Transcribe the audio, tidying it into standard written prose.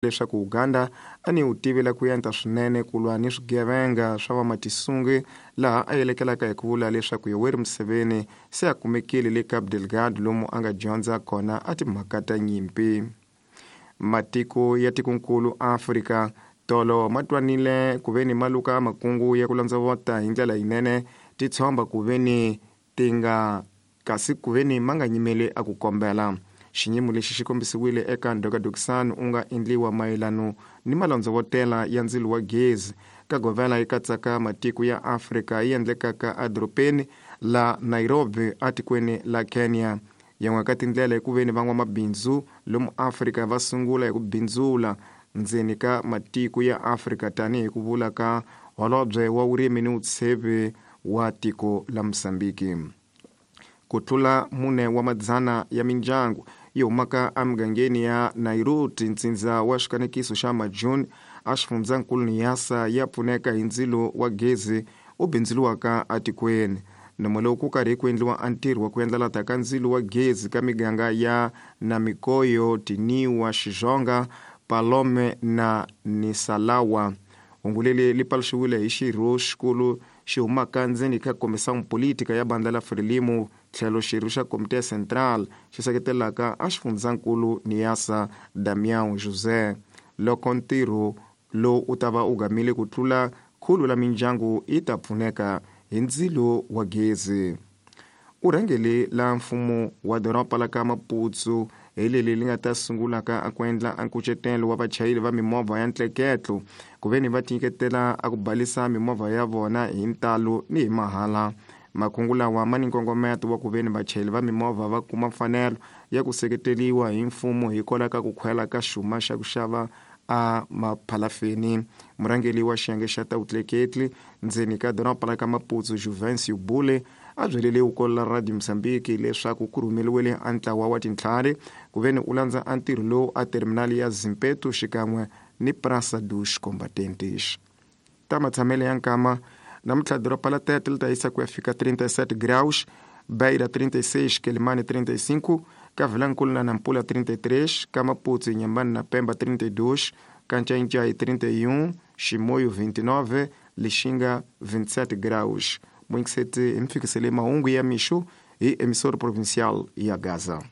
Leswaku Uganda a ni wu tivela ku yenta swinene ku lwa ni swigevenga swa vamatisungi, laha a yelekelaka hi ku vula leswaku Yoweri Museveni se a kumekile le Cabo Delgado lomu a nga dyondza kona a timhaka ta nyimpi. Matiko ya tikonkulu Afrika tolo ma twanile ku ve ni ma luka makungu ya ku landzavota hi ndlela yinene titshomba ku ve ni ti nga kasi ku ve ni ma nga nyimeli a ku kombela. Xinyimo lexi xi kombisiwile eka ndhokadokisano u nga endliwa mayelano ni malandzovotela ya ndzilo wa gezi ka govela yi katsaka matiko ya Afrika yi endlekaka edorobeni la Nairobi etikweni la Kenya. Yan'we ka tindlela i ku ve ni van'wamabindzu lomu Afrika va sungula hi ku bindzula ndzeni ka matiko ya Afrika tanihi ku vula ka holobye wa vurimi ni vutsheve wa tiko la Mozambiki. Ku tlula mune wa madzana ya mindyangu yi humaka emugangeni ya Nairobi, ntsindza wa xikanekiso xa Majuni exifundzhankulu Niassa ya pfuneka hi ndzilo wa gezi u bindzuriwaka etikweni. Nomo lowu ku karhi ku endliwa a ntirho wa ku endlalata ka ndzilo wa gezi ka miganga ya Namikoyo, Tiniwa, Xizonga, Palome na Nisalawa. Hungu leri li paluxiwile hi xirho xikulu xi humaka ndzeni ka Comissão Política ya bandla la Frelimo tlhelo xirho xa Comité Central xi seketelaka a xifundzhankulu Niassa Damião José. Loko ntirho lowu u ta va u gamile ku tlula khulu la mindyangu yi ta pfuneka hi ndzilo wa gezi. U rhangele la mfumo wa doroba la ka Maputo hi leli li nga ta sungulaka a ku endla a nkucetelo wa vachayeri va mimovha ya ntleketlo ku ve ni va tinyiketela a ku balisa mimovha ya vona hi ntalo ni hi mahala. Makungu lawa ma ni nkongometo wa ku ve ni vachayeri va mimovha va kuma mfanelo ya ku seketeliwa hi mfumo hikwalaho ka ku khwela ka xuma xa ku xava a maphalafeni. Murhangeri wa xiyenge xa ta vutleketli ndzeni ka doroba la ka Maputo Juvencio Bule a byelele vukolo la Radio Mozambique leswaku ku rhumeriwile a ntlawa wa tintlhari ku ve ni u landza a ntirho lowu a terminali ya Zimpeto xikan'we ni Praça dos Combatentes. Ta matshamelo ya nkama namuntlha doroba la Tete li ta yisa ku ya fika 37 graus, Beira 36, Quelimane 35, ka Vilankulu na Nampula 33, ka Maputo, Inhambane na Pemba 32, ka Ncaincaí 31, Chimoio 29, Lixinga 27 graus. Muingiseti hi mi fikisele mahungu ya mixo hi emissora provincial ya Gaza.